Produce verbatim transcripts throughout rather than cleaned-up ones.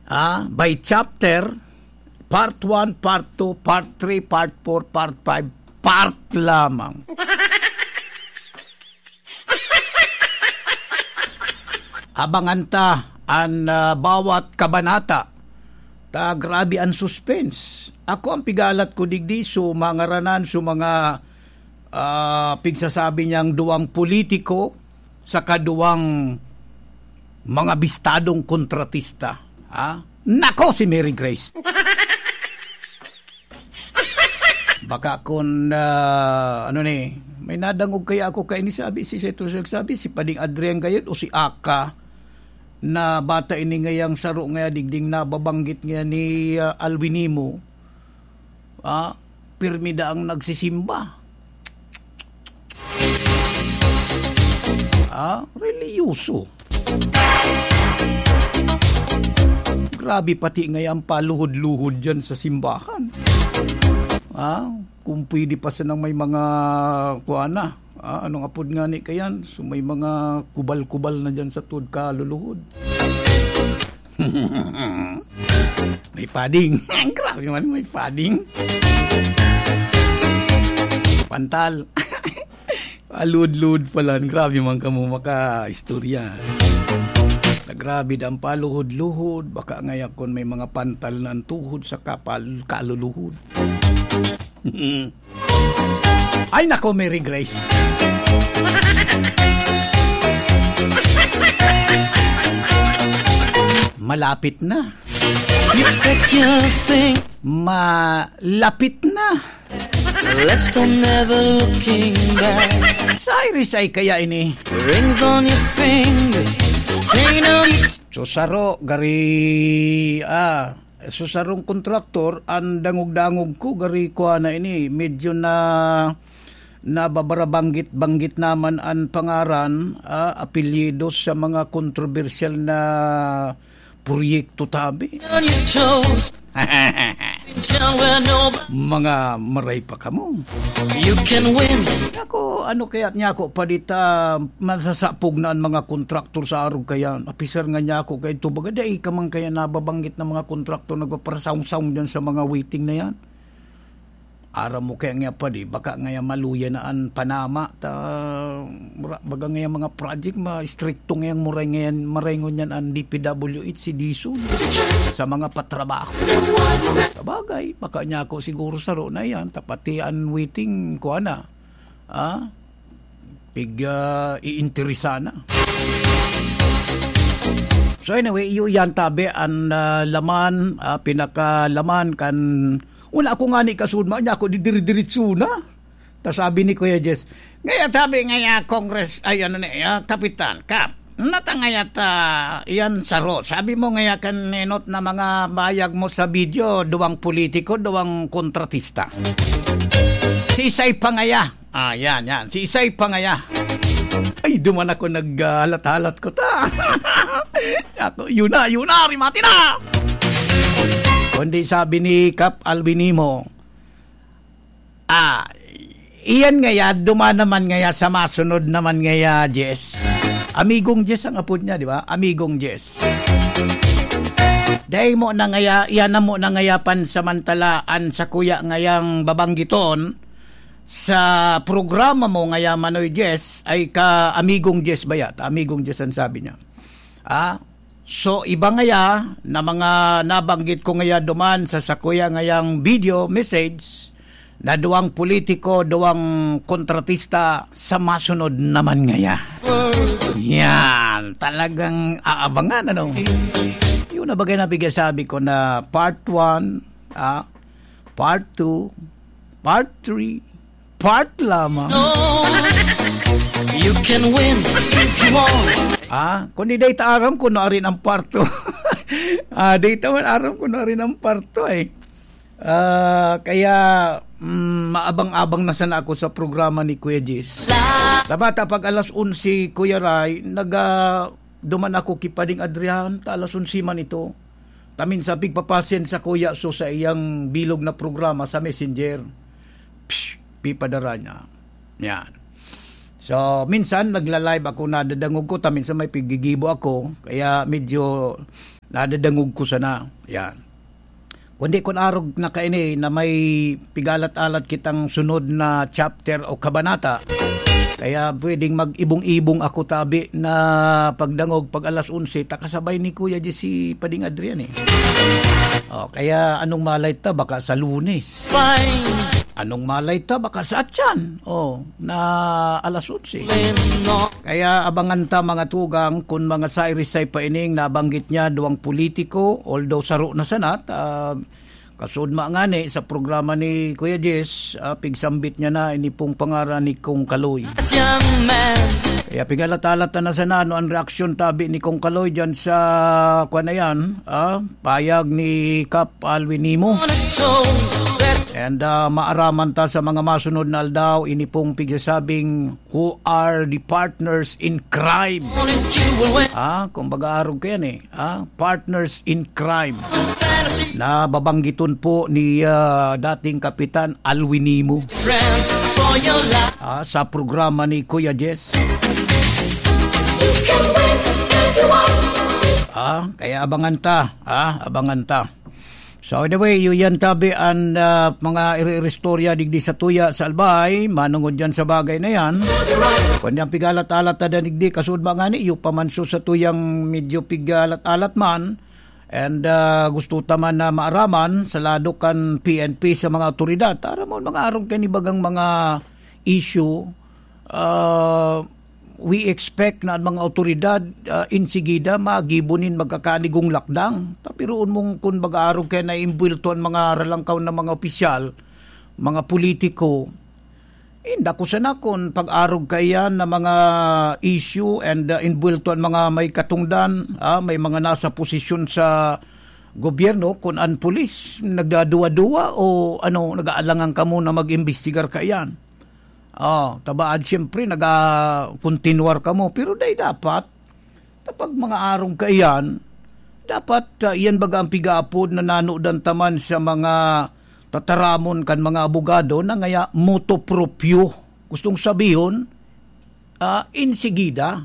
Ah, by chapter, part one, part two, part three, part four, part five, part lamang. Abangan ta an, ah, bawat kabanata. Ta grabe an suspense. Ako, ang pigalat ko digdi, so, mga ranan, so, mga, ah, pigsasabi niyang duwang politiko, saka duwang mga bistadong kontratista. Ha? Nako, si Mary Grace! Baka kun, ah, ano ni, may nadangog kaya ako kaini, sabi si Seto, sabi si Pading Adrian Gayod o si Aka, na bata ini ngayang saro ngaya digding nababanggit ngaya ni, ah, Alwin Nimo. Ah, pirmi daang nagsisimba. Ah, relihiyoso. Grabe pati ngayon paluhod-luhod dyan sa simbahan. Ah, kung pwede pa sanang may mga, kuha na, ah, anong apod nga ni kayan? So may mga kubal-kubal na dyan sa tuod kaluluhod. May padding. Grabe man, may padding. Pantal. Alud-lud pala. Grabe man kamo maka-istorya. Na grabe, dang paluhod-luhod. Baka ngaya kun may mga pantal na ang tuhod sa kapal, kaluluhod. Ay, nako, Mary Grace. Malapit na. You bet your thing. Malapit na. Left and never looking back. Sa Irisay kaya ini? Rings on your fingers. Chain on your Susaro, gari, ah, susarong kontraktor, ang dangog-dangog ko, gari, kuha na ini, medyo na, nababarabanggit-banggit naman ang pangaran, ah, apelyido sa mga kontrobersyal na proyekto tabi. On your toes. Mga maray pa kamo. You can win. Ako, ano kaya niya ako, padita, masasapog na ang mga kontraktor sa arog kaya. Apisar nga niya ako, kaya ito baga, dai ka man kaya nababanggit ng mga kontraktor, nagpaparasawng-sawng dyan sa mga waiting na yan. Aram mo kaya nga pa di, baka nga yan maluya na ang panama, ta, mura-, baga nga yung mga project, ma-, stricto nga yung muray nga yan, maray ngunyan ang D P W H, si Dison, sa mga patrabaho. Sabagay, baka niya ako siguro saro na yan, tapati ang waiting, kuha na, ah, pig, ah, iinteresan na. So anyway, iyo yan tabi ang, ah, laman, ah, pinakalaman kan, wala ako nga ni kasudma niya ako, didiri-diritso na. Ta sabi ni Kuya Jess, "Ngaya tabi ngaya, Congress, ay, ano ni, ah, Kapitan, Kap, nata ngaya ta, yan saro. Sabi mo ngaya kan enot na mga bayag mo sa video, duwang politiko, duwang kontratista." Si Isay pa ngaya. Ah, yan, yan. Si Isay pa ngaya. Ay, duman ako naghalat-halat ko ta. Ako, yun na, yun na, rimati na! Kundi sabi ni Kap Alvin Nimo, ah, iyan ngaya, duman naman ngaya sa masunod naman ngaya, Jess. Amigong Jess ang apod niya, di ba? Amigong Jess. Dai mo na ngaya, iyan na mo na ngaya pansamantalaan sa kuya ngayang babanggiton sa programa mo ngaya, Manoy Jess, ay ka Amigong Jess ba yata? Amigong Jess ang sabi niya. Ah, so, iba ngaya na mga nabanggit ko ngaya duman sa sakuya ngayang video message na duwang politiko, duwang kontratista sa masunod naman ngaya. Yan, talagang aabangan, ano? Yun na bagay na bigay sabi ko na part one, ah, part two, part three, part lamang. No, you can win if you want. Ah, kung di data aram ko na rin ang part two. Ah, data man aram ko na rin ang part two eh. Ah, kaya, mm, maabang-abang na sana ako sa programa ni Kuya Jis. Sa bata, pag alas onse, Kuya Ray, naga-, duman ako ki Pading Adrian, ta alas onse man ito. Tamin sa pigpapasen sa Kuya So sa iyang bilog na programa sa Messenger. Psh, pipadara niya. Yan. So, minsan nagla-live ako, nadadangog ko, tamin sa may pigigibo ako, kaya medyo Nadadangog ko sana. Yan. Kundi kun arog na kaini na may pigalat-alat kitang sunod na chapter o kabanata, kaya pwedeng mag-ibong-ibong ako tabi na pagdangog pag alas onse, takasabay ni Kuya Jesse Pading Adrian eh. O, kaya anong malay ta, baka sa Lunes. Fines. Anong malay ta, baka sa Atyan. O, na alas onse. Kaya abangan ta, mga tugang, kun mga sairisay pa ining nabanggit niya, duwang politiko, although saro na sanat, ah, kasudma ngani sa programa ni Kuya Jess, ah, pigsambit niya na ini pong pangaran ni Kong Kaloy. As young man. Kaya pigalat-alat na sana ano ang reaksyon tabi ni Kong Kaloy dyan sa, kwan na yan, ah, payag ni Kap Alwin Nimo. And, ah, maaraman ta sa mga masunod na aldaw, ini pong pigsasabing, "Who are the partners in crime?" Ah, kumbaga arog ka yan eh. Ah, partners in crime. Na babanggiton po ni, ah, dating Kapitan Alwin Nimo. Ah, sa programa ni Kuya Jess. Ah, kaya abangan ta. Ah, abangan ta. So, anyway, yun yan, tabi, an, ah, mga iri-iristorya digdi sa tuya sa Albay, manungod yan sa bagay na yan. Kundi ang pigalat-alat na digdi, kasud ba nga ni, iyo pa man so sa tuyang medyo pigalat-alat man, and, ah, gusto ta man na maaraman, sa lado kan P N P sa mga awtoridad. Aram mo, mga arong kanibagang mga issue, ah, we expect na an mga awtoridad, ah, insigida magibo nin magkakanigong lakdang. Tapiroon mong kun mag-aarog kaya naimbwelto an mga ralangkaw na mga opisyal, mga politiko, inda ko sana kun pag-arog kaiyan na mga issue and, ah, imbwelto an mga may katungdan, ah, may mga nasa posisyon sa gobyerno, kun an pulis nagdaduwa-duwa o ano, nag-aalangan kamo na mag-imbestigar kaiyan. Oh, tabaad siyempre naga-kontinuar kamo, pero dai dapat. Tapag mga arong kaiyan, dapat, ah, iyan baga ang pigaapod na nanodan taman sa mga tataramon kan mga abogado na ngaya motu proprio. Gustong sabihon, ah, insigida.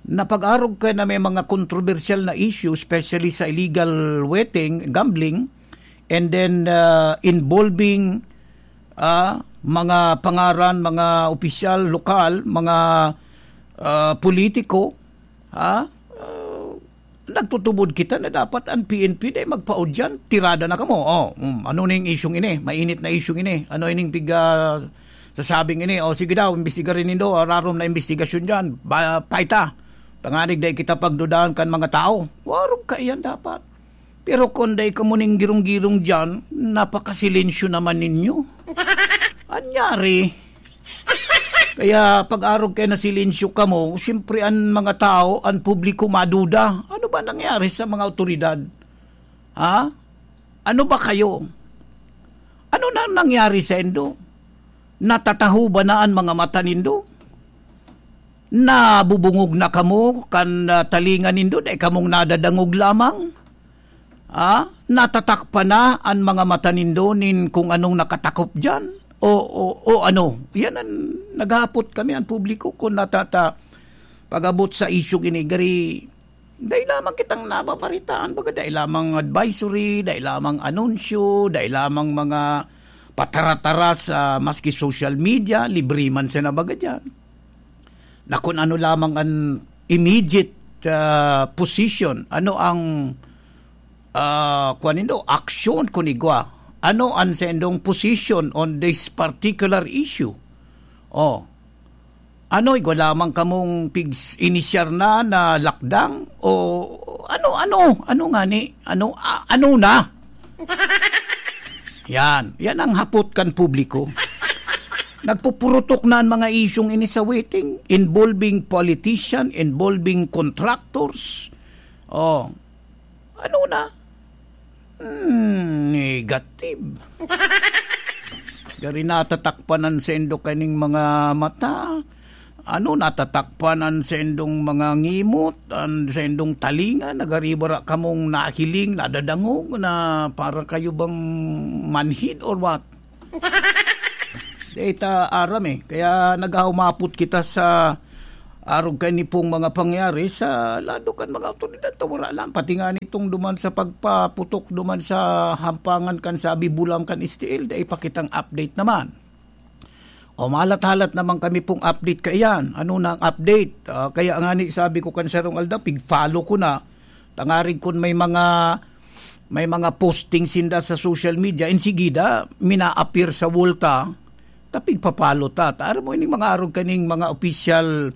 Na pag-arog ka na may mga kontrobersyal na issue, especially sa illegal wetting, gambling, and then, ah, involving, ah, mga pangaran, mga opisyal, lokal, mga, ah, politiko, ha? Ah, nagtutubod kita na dapat ang P N P dai magpaudyan, tirada na kamo. Oh, mm, ano ning isyung ini? Mainit na isyung ini. Ano ining piga sasabing ini? O sige daw, imbestigarin nindo, ah, rarom na imbestigasyon diyan. Ba, paita. Tanganig dai kita pagdudahan kan mga tao. Warog kaiyan dapat. Pero kun dai kamo ning girong-girong diyan, napakasilensyo naman ninyo. Anyari? Kaya pag-arog kaya na silensyo kamo, siyempre an mga tao, an publiko maduda. Ano ba nangyari sa mga awtoridad? Ha? Ano ba kayo? Ano na nangyari sa indo? Natataho ba na an mga mata nindo? Nabubungog na kamo kan, ah, talinga nindo, dai kamong nadadangog lamang? Ah, natatakpan na an mga mata nindo nin kung anong nakatakop diyan? O, o, o ano? Yan ang naghahapot kami, ang publiko, kung natata-, pag-abot sa isyung ini, gari, dai lamang kitang nababaritaan, baga dai lamang advisory, dai lamang anunsyo, dai lamang mga patara-tara sa maski social media, libre man sana baga diyan. Na kung ano lamang ang immediate, ah, position, ano ang, ah, kuwan nindo, aksyon kun igwa? Ano ang saindong position on this particular issue? Oh. Ano, igwa lamang kamong pigs-, inisyar na, na lakdang? O ano, ano? Ano ngani? Ano, a-, ano na? Yan. Yan ang hapot kan publiko. Nagpupurutok na ang mga isyung ini sa waiting, involving politician, involving contractors. Oh, ano na? Hmm, negative. Gari natatakpan an sendo kaning mga mata. Ano, natatakpan an sendong mga ngimot, an sendong talinga, nagariba ra kamong nahiling, nadadangog na para kayo bang manhid or what? Di ta aram eh. Kaya naghaumapot kita sa Arog kaini pong mga pangyari sa lado kan mga awtoridad ta wara lang. Pati nga nitong duman sa pagpaputok duman sa hampangan kan Sabi Bulang kan S T L, dai pa kitang update naman. O, mahalat-halat naman kami pong update kaiyan. Ano na ang update? Ah, kaya nga ni, sabi ko kan sarong aldaw, pig-follow ko na. Tangarig kun may mga, may mga posting sinda sa social media, insigida, mina-appear sa wall ta, ta pigpa-follow ta. Ta, aram mo, ining mga arog kaning mga official,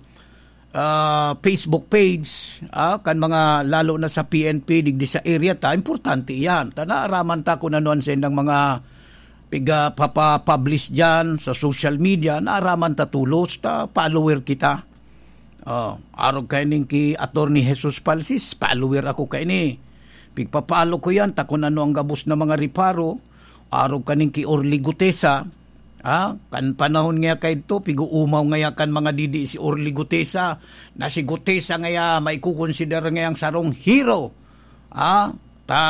ah, Facebook page, ah, kan mga, lalo na sa P N P, digdi sa area ta, importante iyan. Ta, naaraman ta kun ano an saindang mga piga-, papa-publish diyan sa social media, naaraman ta tolos, ta follower kita. Oh, arog kaining ki Attorney Jesus Palsis, follower ako kaini. Pigpa-follow ko yan, ta kun ano ang gabos na mga reparo, arog kaning ki Orly Gutesa, ha? Kan panahon nga kaidto, pig-uumaw ngaya kan mga didi si Orly Gutesa, na si Gutesa ngaya maikukonsidera ngayang sarong hero, ha? Ta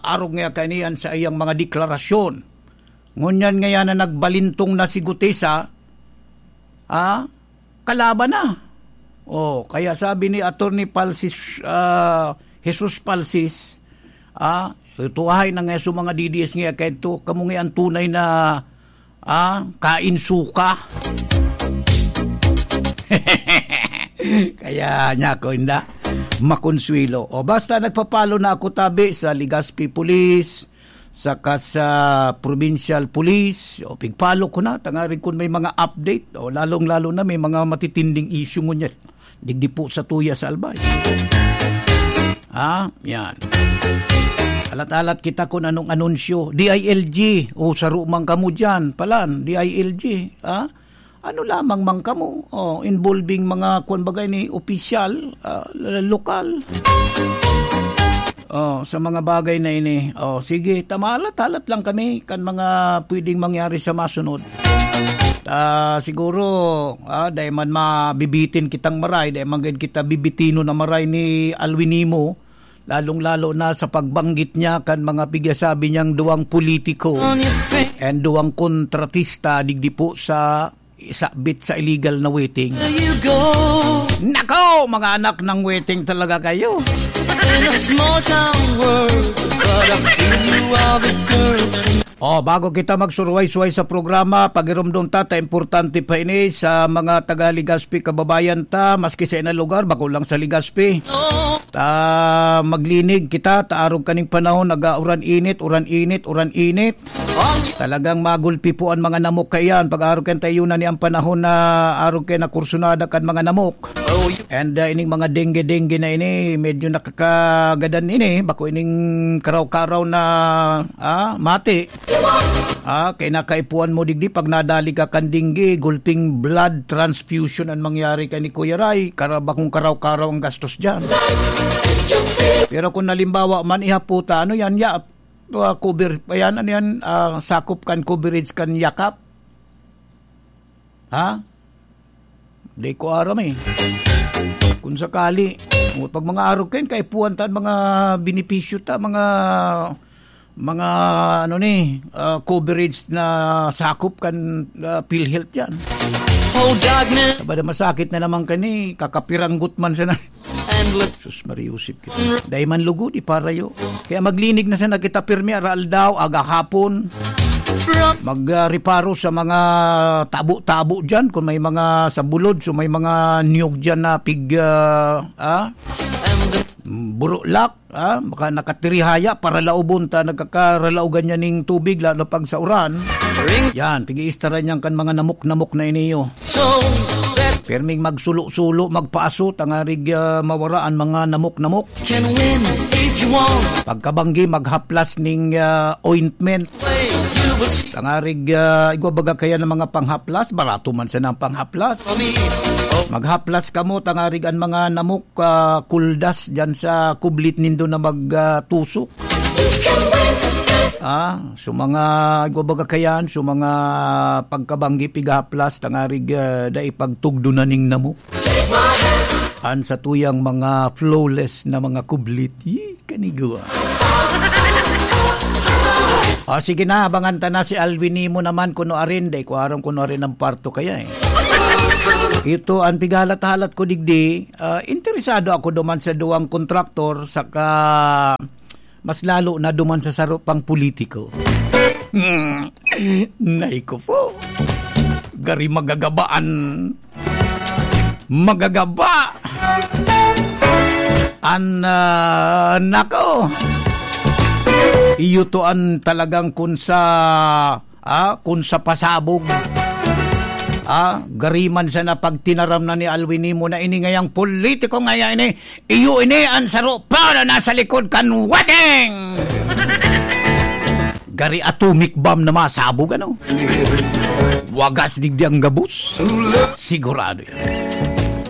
arog ngaya kaini an saiyang mga deklarasyon. Ngunyan ngaya na nagbalintong na si Gutesa, ah, kalaban na. Oh, kaya sabi ni Attorney Palsis, ah, Jesus Palsis, ah, tuhay na nga sa mga D D S nga kaidto, kamo nga ang tunay na, ah, kain suka. Kaya niya ako inda, makonsuelo. O basta nagpapalo na ako tabi sa Legazpi Police, saka sa provincial police, o pigpalo ko na, tangaring kun may mga update, o lalong-lalo na may mga matitinding issue ngunyan. Digdi po sa tuya sa Albay. Ha? Yan. Alat-alat kita kung anong anunsyo. D I L G, o saro man kamo dyan, palan, D I L G. Ha? Ano lamang man kamo, oh, involving mga, kuwan bagay ni, opisyal, ah, l-, lokal. Oh, sa mga bagay na ini. Oh, sige, tamalat-talat lang kami kan mga pwedeng mangyari sa masunod. Ah, siguro, ah, dai man mabibitin kitang maray, dai man gad kita bibitino na maray ni Alwin Nimo, lalong-lalo na sa pagbanggit niya kan mga pigyasabi niyang duwang politiko and duwang kontratista digdi po sa isabit sa illegal na wetting. Nako, mga anak ng wetting talaga kayo. Oh, bago kita magsuruway-suway sa programa, pagiromdom ta, ta importante pa ini sa mga taga Legazpi kababayan ta, maski sa inang lugar, bako lang sa Legazpi. Ta maglinig kita, ta arog kaning panahon, nag-uuran init, uran init, uran init. Talagang magulpi po an mga namok kaiyan. Pag-arog kan tayo na ni ang panahon na arog kay nakursunada kan mga namok. And, ah, ining mga dengue-dengue na ini, medyo nakakagadan ini. Bako ining karaw-karaw na, ah, mati. Ah, kay nakaipuan mo digdi, pag nadali ka kan dengue, gulping blood transfusion ang mangyari kay ni Kuya Ray. Kara-, bakong karaw-karaw ang gastos dyan. Pero kung nalimbawa man, ihaputa, ano yan, ya, ah, cover, ayan, ano yan, ah, sakop kan coverage kan yakap? Ha? Di ko aram eh. Kung sakali, o, pag mga arog kayo, kaipuhan ta, mga benepisyo ta, mga, mga, ano ni, ah, coverage na sakop kan, ah, PhilHealth yan. Oh, darkness. Sabada masakit na naman kani, kakapiranggot man sana. Endless. Sus, Maria Josep kita. Dai man lugod, iparayo. Kaya maglinig na sana kita pirmi, araaldaw, agahapon. From mag, ah, reparo sa mga tabo-tabo dyan. Kung may mga sa bulod, so may mga niyog dyan na pig, ah, ah, and the burulak, ah, baka nakatirihaya, paralaubon ta, nagkakaralaogan niya ning tubig, lalo pag sa uran. Ring. Yan, tigi-istara niyan kan mga namok-namok na iniyo. So, that Pirming magsulo-sulo, magpaaso, tangarig, ah, mawara ang mga namok-namok. Can win if you want. Pagkabanggi, maghaplas ning, ah, ointment. Way you will see Tangarig, ah, igwa baga kaya ng mga panghaplas, barato man sana ang panghaplas. For me. Oh. Maghaplas kamo, tangarig ang mga namok, ah, kuldas dyan sa kublit nindo na mag, ah, tusok. Ah, so mga, igwa baga kayan, so mga pagkabanggi pigahaplas, tangarig, ah, dai pagtugdo na ning namo. An sa tuyang mga flawless na mga kublit. Yee, kanigwa. O, sige na, abangan ta na si Alwin Nimo naman, kuno arin, dai ko aram kuno arin ang parto kaya eh. Ito ang pighalat-halat ko digdi. Ah, interesado ako duman sa duwang kontraktor, saka mas lalo na duman sa saro pang politiko. Hmm. Nay ko po. Gari magagabaan. Magagaba. An, ah, nako. Iyo to an talagang kun sa, ah, kun sa pasabog. Ah, gari man sana pag tinaram na ni Alwin Nimo na ini ngayang politiko ngaya ini, iyo ini an saro pa na nasa likod kan wedding! Gari atomic bomb na masabog, ano? Wagas digdi ang gabos. Sigurado yan.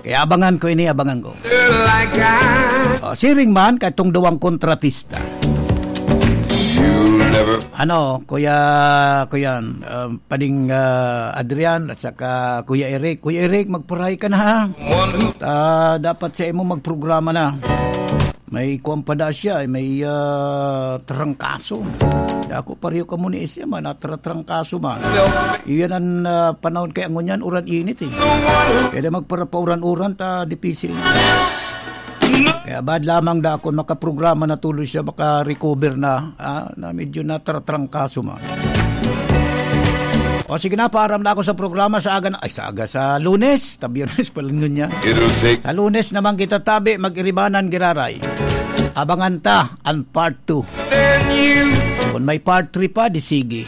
Kaya abangan ko ini, abangan ko. Oh, siring man, katong duwang kontratista. Ano, Kuya, Kuya, um, Pading, ah, Adrian at saka Kuya Eric. Kuya Eric, magpuray ka na, ha? Ah, dapat sa imo magprograma na. May kuwan pa da siya, eh, may, ah, trangkaso. Kaya ako, pareho ka muna isya, man, natratrangkaso man. Iyan ang, ah, panahon kaya ngunyan, uran-init, eh. Kaya magparapauran-uran, ta, dipisil. Kaya bad lamang da ako, makaprograma na tuloy siya, maka-recover na, ah, na medyo natratrangkaso man. O sige na, paaram na ako sa programa sa aga na, ay, sa aga, sa Lunes, ta Biyernes pa lang ngunyan. It'll take Sa Lunes naman kita tabi, mag-iribanan giraray. Abangan ta an part two. Then you Kung may part three pa, di sige.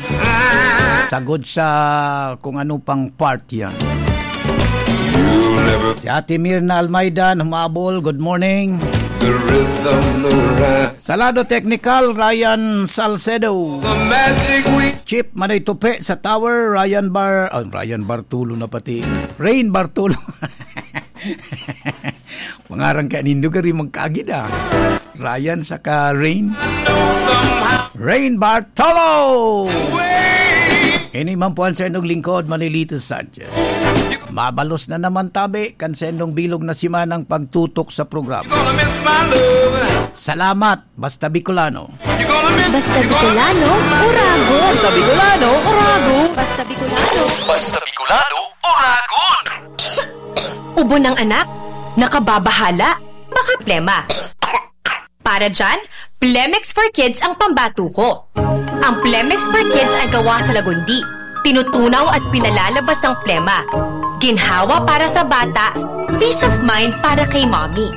Sagod sa kung ano pang part yan. You'll never Si Ate Mirna Almaydan, humabol, good morning. The rhythm, the rhyme. Sa lado teknikal, Ryan Salcedo. The magic we Chip Manoy Tupe sa Tower, Ryan Bar, oh, Ryan Bartulo na pati. Rain Bartulo. Mangaran ka nindo gari magkaagid, ah. Ryan saka Rain. Rain Bartolo! Ini man po ang sa inyong lingkod, Manilito Sanchez. Mabalos na naman tabi kan sa inyong bilog na simanang pagtutok sa programa. Gonna miss my love. Salamat, Basta Bicolano. You're gonna miss Basta Bicolano, Uragon. Basta Bicolano, Uragon. Basta Bicolano. Basta Bicolano, Uragon. Ubo ng anak, nakababahala, baka plema. Para dyan, Plemex for Kids ang pambato ko. Ang Plemex for Kids ay gawa sa lagundi. Tinutunaw at pinalalabas ang plema. Ginhawa para sa bata, peace of mind para kay mommy.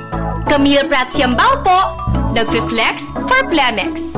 Camille Prats Yambao po, nagfi-flex for Plemex.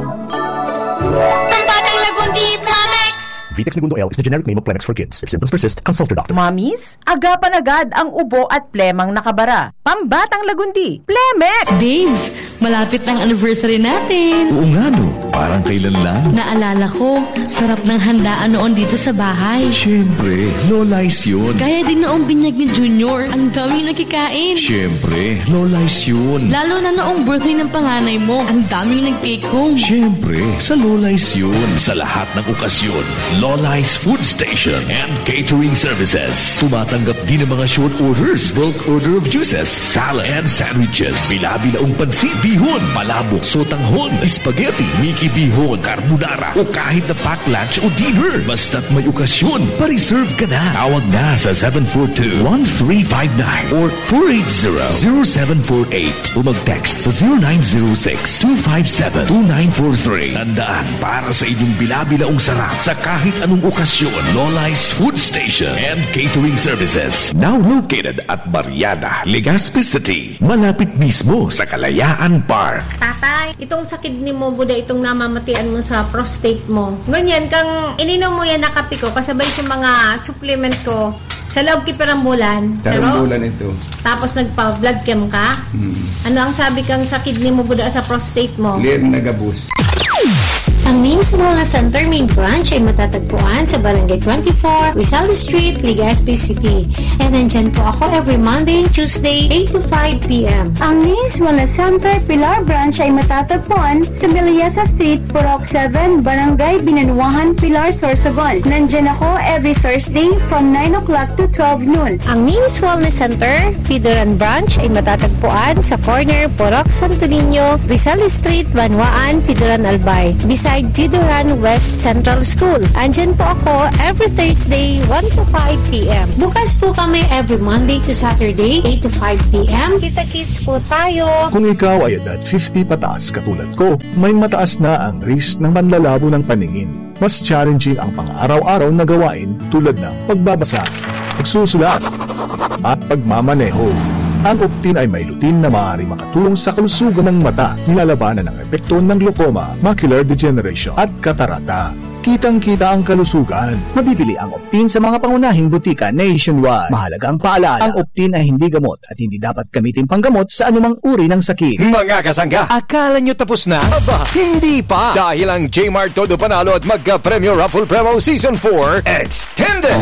Pambatang lagundi, Plemex! Vitex Negundo L is the generic name of Plemex for Kids. If symptoms persist, consult your doctor. Mommies, agapan agad ang ubo at plemang nakabara. Pambatang lagundi, Plemex! Babes, malapit na ang anniversary natin. Oo nga, no? Parang kailan lang. Naalala ko, sarap ng handaan noon dito sa bahay. Siyempre, Lola's yun. Gaya din noong binyag ni Junior, ang daming nakikain. Siyempre, Lola's yun. Lalo na noong birthday ng panganay mo, ang daming nag-take home. Siyempre, sa Lola's yun. Sa lahat ng okasyon, Lola's Food Station and Catering Services. Tumatanggap din ng mga short orders, bulk order of juices, salad, and sandwiches. Bila-bilaong pansit, bihon, palabok, sotanghon, spaghetti, Mickey bihon, carbonara, o kahit na pack lunch o dinner. Basta't may okasyon, pa-reserve ka na. Tawag na sa seven four two, one three five nine or four eight zero, zero seven four eight o mag-text sa zero nine zero six, two five seven, two nine four three. Tandaan, para sa inyong bila-bilaong sarap sa kahit anong okasyon, Lola's Food Station and Catering Services. Now located at Barriada, Legazpi City, malapit mismo sa Kalayaan Park. Tatay, itong sa kidney mo, buda itong namamatian mo sa prostate mo. Ngunyan, kang ininom mo yan na kape ko, kasabay sa mga supplement ko, sa loob ki pirang bulan. Sa Tarong loob? bulan ito. Tapos nagpa-blood chem ka? Hmm. Ano ang sabi kang sa kidney mo, buda sa prostate mo? Clear na gabos. Ang Names Wellness Center main branch ay matatagpuan sa Barangay twenty-four, Rizal Street, Legazpi City. And nandyan po ako every Monday and Tuesday, eight to five p m. Ang Names Wellness Center Pilar Branch ay matatagpuan sa Melissa Street, Purok seven, Barangay Binanuahan, Pilar, Sorsogon. Nandyan ako every Thursday from nine o'clock to twelve noon. Ang Names Wellness Center, Pidoran Branch, ay matatagpuan sa corner Purok Santo Niño, Rizal Street, Banwaan, Pidoran, Albay. Bisaya Vidoran West Central School. Andyan po ako every Thursday, one to five p.m. Bukas po kami every Monday to Saturday, eight to five p.m. Kita-kits po tayo. Kung ikaw ay edad fifty pataas katulad ko, may mataas na ang risk ng manlalabo ng paningin. Mas challenging ang pang-araw-araw na gawain tulad ng pagbabasa, pagsusulat, at pagmamaneho. Ang Optin ay may lutein na maaaring makatulong sa kalusugan ng mata. Nilalabanan ang epekto ng glaucoma, macular degeneration, at katarata. Kitang-kita ang kalusugan. Mabibili ang Optin sa mga pangunahing butika nationwide. Mahalagang paalala, ang Optin ay hindi gamot at hindi dapat gamitin panggamot sa anumang uri ng sakit. Mga kasangga, akala nyo tapos na? Aba, hindi pa! Dahil ang Jmart Todo Panalo at Magka-Premyo Raffle Promo Season four Extended!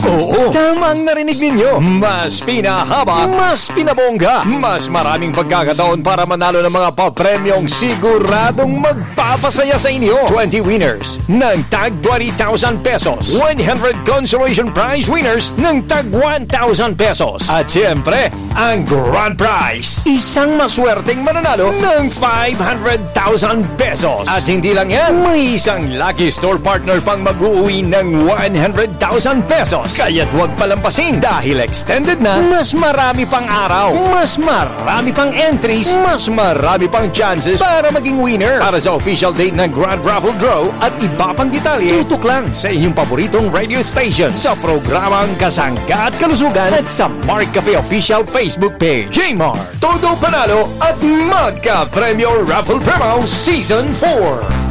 Oo, tama ang narinig ninyo. Mas pinahaba, mas pinabongga, mas maraming pagkakataon para manalo ng mga papremyong siguradong magpapasaya sa inyo. Twenty winners ng tag twenty thousand pesos. One hundred consolation prize winners ng tag one thousand pesos. At siyempre, ang grand prize, isang maswerteng mananalo ng five hundred thousand pesos. At hindi lang yan, may isang lucky store partner pang mag-uwi ng one hundred thousand pesos. Kaya't huwag palampasin dahil extended na, mas marami pang araw, mas marami pang entries, mas marami pang chances para maging winner. Para sa official date ng Grand Raffle Draw at iba pang detalye, tutok lang sa inyong paboritong radio station sa programang Kasangga at Kalusugan at sa Mark Cafe Official Facebook page. Jmart, Todo Panalo at Magka Premyo Raffle Promo Season four.